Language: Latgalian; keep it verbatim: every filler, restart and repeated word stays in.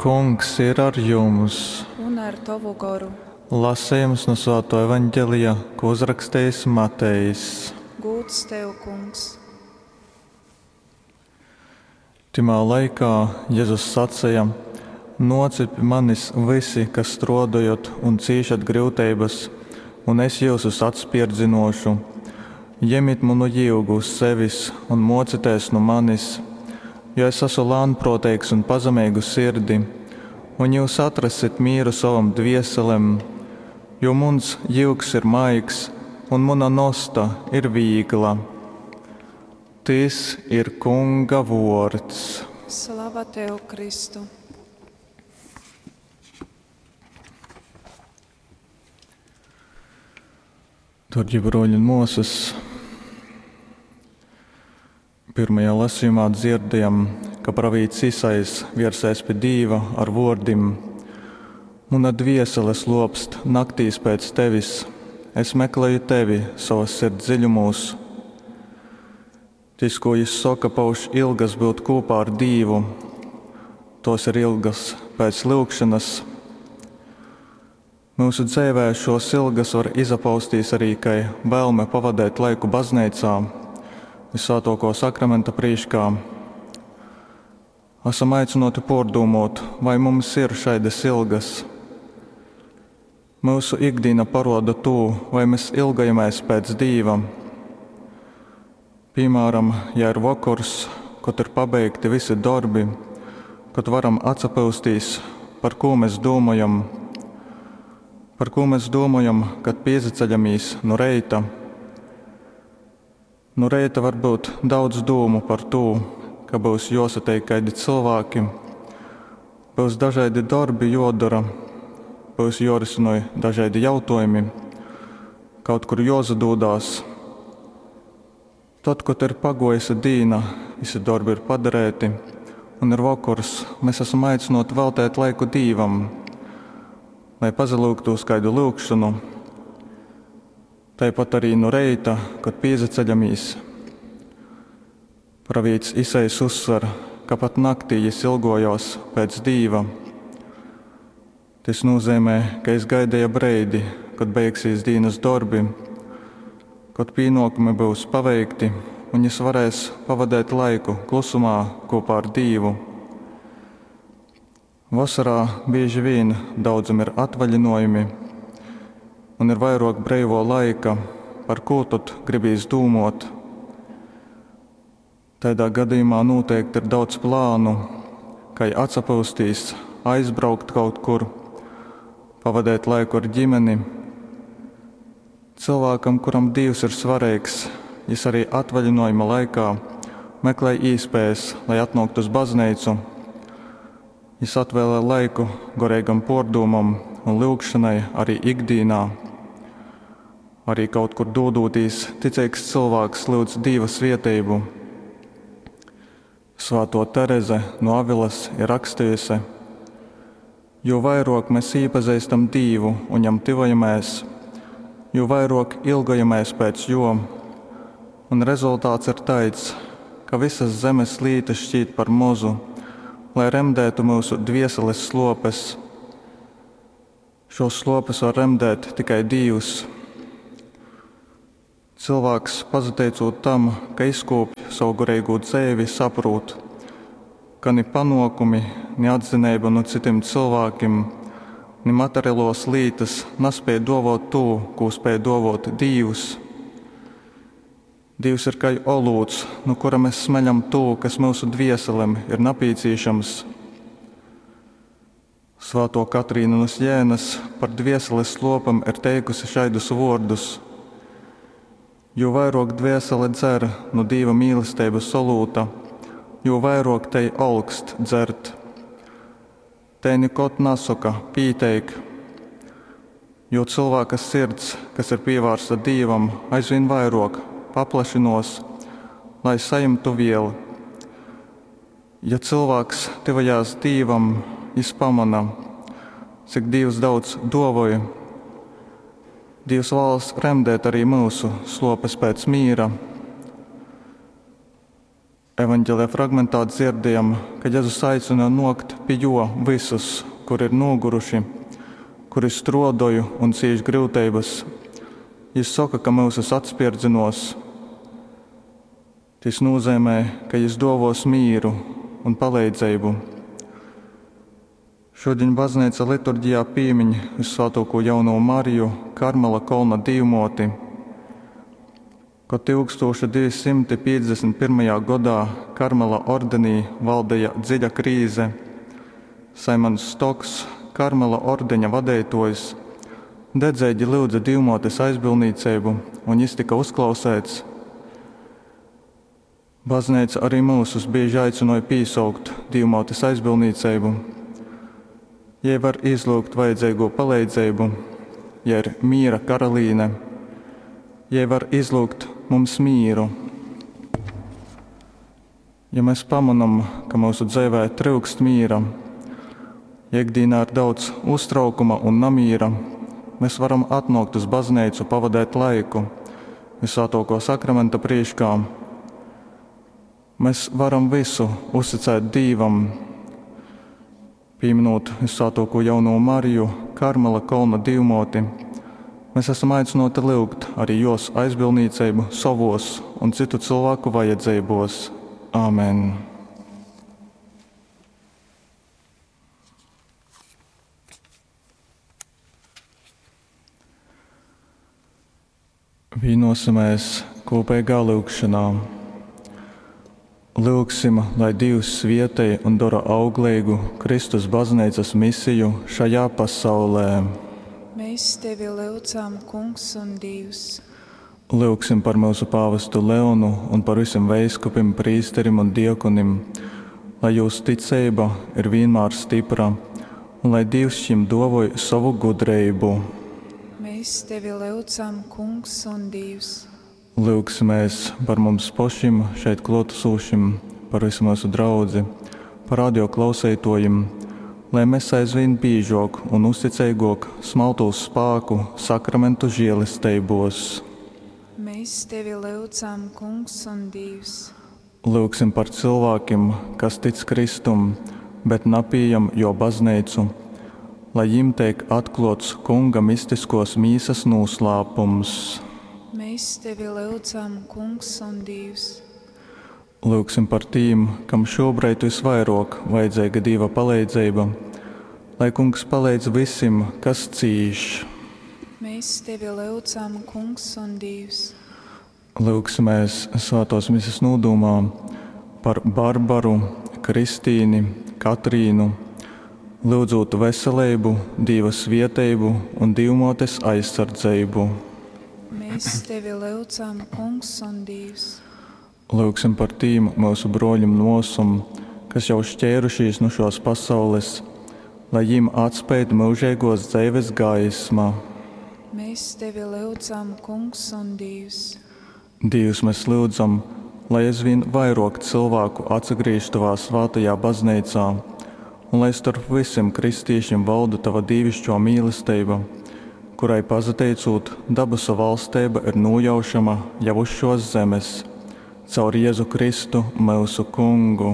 Kungs ir ar jums! Un ar tovu goru. Lasejums nu Svātō Evaņgelija, ko uzrakstījis Matejs. Gūds tev, Kungs! Tymā laikā Jezus saceja: Nōcit pi manis vysi, kas strōdojot un cīšat gryuteibas, un es jyusus atspērdzynōšu. Jemit munu jyugu uz sevis un mōcitēs nu manis, jo es asu lānprōteigs un pazemeigu sirdi, un jyus atrassit mīru sovom dvieselem, jo muns jyugs ir maigs un muna nosta ir vīgla. Tys ir Kunga vuords. Slava tev, Kristu! Darbie broļi un māsas, pirmajā lasījumā dzirdējam, ka pravīts Isajs viersēs pie Dīva ar vōrdim: Muna dviesele slopst naktīs pēc tevis, es meklēju tevi savas sirds dziļumos. Tys, ko jis soka, pauž ilgas būt kopā ar Dīvu. Tos ir ilgas pēc lyugšanas. Mūsu dzeivē šos ilgas var izapaustīs arī kai vēlme pavadēt laiku bazneicā, Visvētoko sakramenta prīškā. Esam aicināti pārdomāt, vai mums ir šādas ilgas. Mūsu ikdiena paroda to, vai mēs ilgojamies pēc Dīva. Piemēram, ja ir vakars, kad ir pabeigti visi darbi, kad varam atsapūstīs, par ko mēs domājam, par ko mēs domājam, kad piezaceļamies no reita. No reita var būt daudz dūmu par to, ka būs jāsatiek kādi cilvēki, būs dažādi darbi jodara, būs jorisinoj dažādi jautājumi, kaut kur jozadūdās. Tad, kad ir pagojusi dīna, visi darbi ir padarēti un ir vakars, mēs esam aicināti veltēt laiku Dīvam, lai pazalūgtos kādu lūgšanu. Tāpat arī no reita, kad piezaceļamies. Pravīts Isajs uzsver, ka pat naktī jis ilgojās pēc Dīva. Tas nozīmē, ka jis gaidīja breidi, kad beigsies dienas darbi, kad pienākumi būs paveikti un jis varēs pavadīt laiku klusumā kopā ar Dīvu. Vasarā bieži vien daudzam ir atvaļinājumi un ir vairāk brīvo laika, par ko tad gribīs dūmot. Tādā gadījumā noteikti ir daudz plānu, kā atsapūstīs, aizbraukt kaut kur, pavadīt laiku ar ģimeni. Cilvēkam, kuram Dievs ir svarīgs, jis arī atvaļinājuma laikā meklē iespējas, lai atnāktu uz baznīcu. Jis atvēlē laiku garīgam pordūmam un lūgšanai arī ikdienā. Arī kaut kur dodoties, ticīgs cilvēks lūdz Dieva svētību. Svēto Tereze no Avilas ir rakstījusi: Jo vairāk mēs iepazīstam Dievu un jam tuvojamies, jo vairāk ilgojamies pēc jo, un rezultāts ir tāds, ka visas zemes lītas šķiet par mozu, lai remdētu mūsu dvieseles slopes. Šos slopes var remdēt tikai Dievs. Cilvēks, pazateicot tam, ka izkopj savu garīgo dzīvi, saprot, ka ni panākumi, ni atzinība no citiem cilvēkiem, ni materiālos lītas nespēj dovot to, ko spēj dovot Dievs. Dievs ir kā olūts, no kura mēs smeļam to, kas mūsu dvieselēm ir nepieciešams. Svēto Katrīnu no Sienas par dvieseles slopam ir teikusi šaidus vārdus: Jo vairāk dviesele dzer no Dieva mīlestības olūta, jo vairāk tei olkst dzert. Te nekot nesaka pīteik, jo cilvēka sirds, kas ir pievērsta Dievam, aizvien vairāk paplašinos, lai saimtu vielu. Ja cilvēks tuvojās Dievam, jis pamana, cik Dievs daudz dovoja. Dievs vēlas remdēt arī mūsu slopes pēc mīra. Evangelija fragmentā dzirdējam, ka Jezus aicina nuokt pi juo vysus, kuri ir nūguruši, kuri struodoj un cīš gryuteibys. Jis soka, ka myusus atspierdzynuos. Tys nūzeimē, ka jis duovuos mīru un paleidzeibu. Šudiņ bazneica liturgijā pīmiņ Vyssvātuokū Jaunovu Mariju, Karmela kolna Dīvmuoti. Kod tyukstūša divi symti pīcdesmit pyrmajā godā Karmela ordenī valdeja dziļa krīze, Saimons Stoks, Karmela ordeņa vadeituojs, dedzeigi lyudze Dīvmuotes aizbildnīceibu, un jis tyka uzklausēts. Bazneica arī myusus bīži aicynoj pīsaukt Dīvmuotes aizbildnīceibu. Jei var izlyugt vajadzeigū paleidzeibu, jei ir mīra karalīne, jei var izlyugt mums mīru. Ja mēs pamonom, ka myusu dzeivē tryukst mīra, ja ikdīnā ir daudz uztraukuma un namīra, mēs varam atnōkt uz bazneicu pavadēt laiku Vysvātōkō Sakramenta prīškā. Mēs varam visu uzticēt Dīvam, pīminūt Vysvātōkū Jaunovu Mariju, Karmela kolna Dīvmōti. Mēs esam aicināti lyugt arī jos aizbildnīceibu sovos un citu cilvēku vajadzeibos. Āmen. Vīnosimies kopīgā lūgšanā. Lūgsim, lai Dievs svietej un dara augleigu Kristus bazneicas misiju šajā pasaulē. Mēs tevi lūdzam, Kungs un Dievs. Lūgsim par mūsu pāvestu Leonu un par visiem veiskupim, prīsterim un diekonim, lai jūs ticeiba ir vienmēr stipra un lai Dievs šim dovoj savu gudrību. Mēs tevi lūdzam, Kungs un Dievs. Lūgsimies par mums pašim šeit klātesošim, par visu mūsu draudzi, par radio klausītājiem, lai mēs aizvien biežāk un uzticīgāk smaltos spēku sakramentu žēlestībos. Mēs tevi lūdzam, Kungs un Dievs. Lūgsim par cilvēkiem, kas tic Kristum, bet napījam jo baznīcu, lai jim tiek atklots Kunga mistiskos mīsas noslēpums. Mēs tevi lūdzam, Kungs un Dievs. Lūgsim par tīm, kam šobrīd visvairāk vajadzīga Dieva palīdzība, lai Kungs palīdz visim, kas cīš. Mēs tevi lūdzam, Kungs un Dievs. Lūgsimies svētās mises nūdūmā par Barbaru, Kristīni, Katrīnu, lūdzot veselību, Dieva svieteibu un Dievmōtes aizsardzību. Mēs tevi lūdzam, Kungs un Dievs. Lūgsim par tīm mūsu broļim nosum, kas jau šķērušies no šos pasaules, lai jim atspēj mūžīgos dzīves gaisma. Mēs tevi lūdzam, Kungs un Dievs. Dievs, mēs lūdzam, lai aizvien vairāk cilvēku atsagriež tavā svētajā baznīcā, un lai starp visiem kristīšiem valda tava dievišķo mīlestība, kurai pazateicot, dabasu valstība ir nojaušama jau uz šos zemes, caur Jēzu Kristu, mūsu Kungu.